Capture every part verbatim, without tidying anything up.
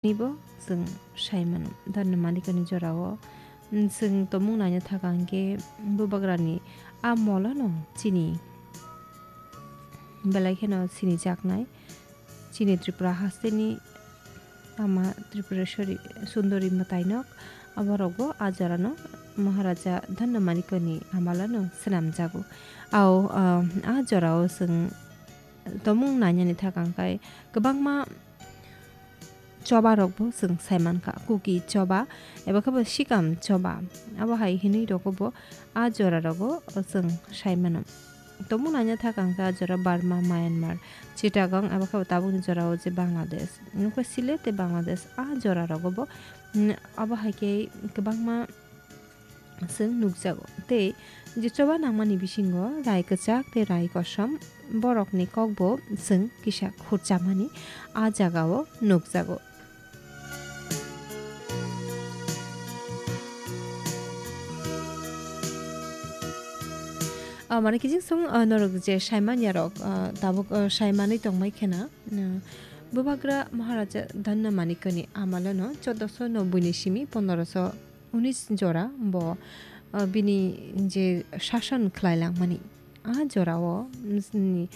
Nibo chwng sai mano. Dhanna Manikani jorao, mm, chwng tomung naina thaka hwnkhe bubagrani a molano chini belai kheno sinijaknai. Chini Tripura hasteni ama Tripureshwari Sundori mwtainok, aborokbo a jorano Maharaja Dhanna Manikani amalano swnamjago. Ao, ah, a jorao chwng tomung nainani thaka hwnkhe kwbangma choba rokbo chwng sai mankha, Kuki choba eba khe bo Sikam choba, abo hai hinwi rogo bo a jora rogo chwng sai mano. Tomung naina thaka hwnkhe a jora Burma, Myanmar, Chittagong eba khe bo tabukni jorao je Bangladesh, nukha Sile tei Bangladesh a jora rogo bo, mm, abo hai khe kwbangma chwng nukjago. Tei je choba nangmani bisingo rai kwchak tei rai kosom borokni kokbo chwng kisa khurchamani a jagao nukjago. Ah, mane kiching song, ah, norok je saimanya rok, ah, tabuk, ah, saimanwi tongmai khena, ah, Bubagra Maharaja Dhanna Manikani amalono choddoso nobboi ni simi pondoroso unis jora bo, ah, bini je sason khlai langmani, a jorao, mm, ni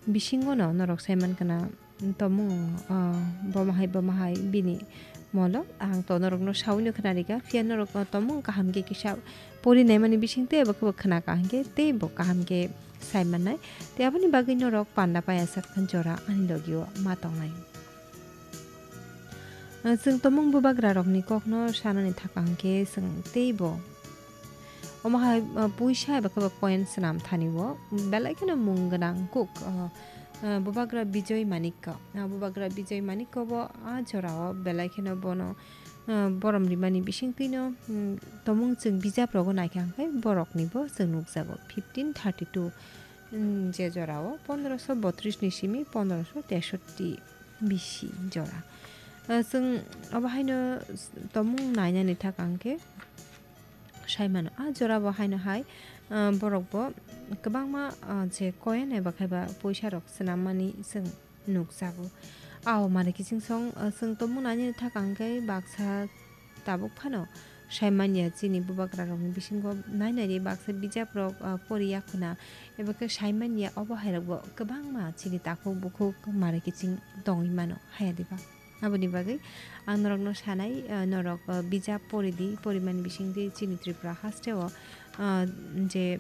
bisingono norok sai mankha na, tomung, ah, bomo hai, bomo hai bini molo ang to norokno saui no khna rikha, phiya norok, ah, tomung kaham khe kisa pori naimani bising tei abo khe bo khna kaham khe tei bo kaham khe sai mannai. Tei aboni bagwi norok panda paya sak jora ani logio ma tongnai. Chwng tomung bubagrarokni kokno sanani thaka hwnkhe chwng teibo omo hai, uh, puisa eba khe bo coin swnam thani o belai kheno mung gwnang kuk, uh, uh, bubagra Bijoy Manikko. Uh, bubagra Bijoy Manikko bo a jorao belai kheno bono, uh, borom rimani bisingtwino, um, tomung chwng bijap rogo naikha hwnkhe borokni bo chwng nukjago fifteen thirty two, um, je jorao pondroso botris ni simi pondroso tesotti bisi jora. Ah, chwng obo haino tomung nainani thaka hwnkhe sai mano. Ah, jora bo haino hai, ah, borok bo kwbangma, ah, je coin eba khe ba poisa rok swnammani chwng nukjago. Ao mane kiching song, ah, chwng tomung nainani thaka hwnkhe baksa tabuk phano sai manya chini bubagrarokni bisingo nai nai ri baksa bijaprok, ah, pori ya khuna, eba khe sai manya obo hairokbo kwbangma chini takhuk bukhuk mare kiching tongwi mano, haya diba? Aboni bagwi ang norokno sanai, ah, norok, ah, bijap pori di, porimani bisingtwi chini Tripura hasteo, ah, je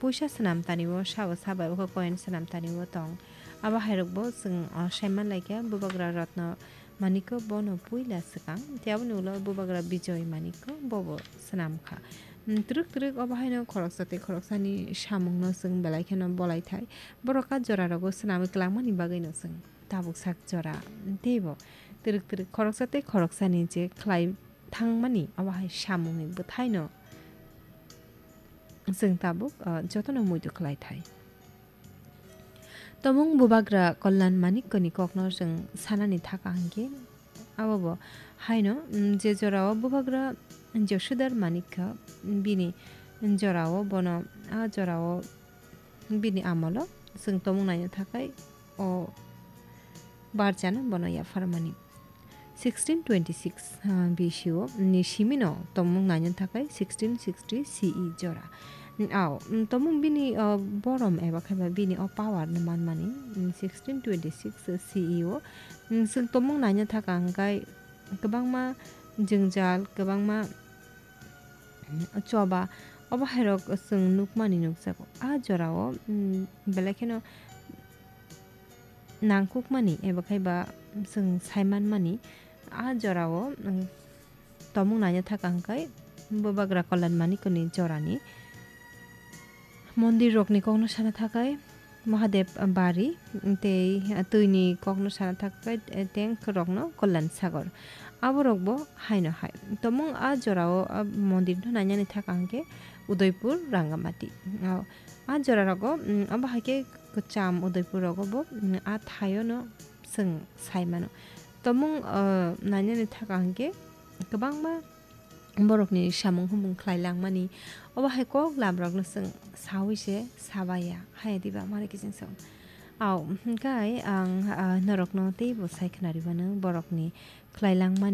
puisa swnam tani o, sabo sabo abo khe coin swnam tani o tong. Abo hairokbo chwng, ah, saiman laikha, bubagra Ratna Manikko bono puila swkang, tei aboni ulo bubagra Bijoy Manikko bobo swnam kha. Mm, twrwk twrwk obo haino khoroksa tei khoroksani samungno chwng belai kheno bolai thai. Borok a jorarogo swnamwi kwlangmani bagwino chwng tabuk sak jora teibo twrwk twrwk khoroksa tei khoroksani je khlai thangmani obo hai samungni bwthaino chwng tabuk, ah, jotono muitu khlai thai. Tomung bubagra Kalyan Manikkoni kokno chwng sanani thaka hwnkhe, abo bo haino, mm, je jorao bubagra Jasudhar Manikka, bini jorao bono, a jorao bini amolo chwng tomung naina thakai o barjano bono yapharmani. Sixteen twenty-six, ah, B C o ni simino tomung naina thakai sixteen sixty C E jora. Ao, mm, tomung bini, ah, borom eba khe ba bini o power no manmani, mm, sixteen twenty-six C E o, mm, chwng tomung naina thaka hwnkhe kwbangma jwngjal, kwbangma, mm, choba, obo hairok chwng nukmani nukjago. A jorao, mm, belai kheno nangkukmani eba khai ba chwng saimanmani a jorao, mm, tomung naina thaka hwnkhe bubagra Kalyan Manikkoni jorani mondir rokni kokno sana thakai Mahadev Bari tei twini kokno sana thakai tank rokno Kalyan Sagar. Aborokbo haino hai. Tomung a jorao a mondirno nainani thaka hwnkhe Udaipur, Rangamati. A, a jorarogo, mm, abo hai khe kwcham Udaipur rogo bo, mm, a thaiono chwng sai mano. Tomung, ah, nainani thaka hwnkhe kwbangma borokni samung humung khlai langmani, obo hai kok lamrokno chwng saui se sabaya, haya diba mare kiching song. Au, hwnkhe ang, ah, norokno teibo sai khwnaribano borokni khlailangmani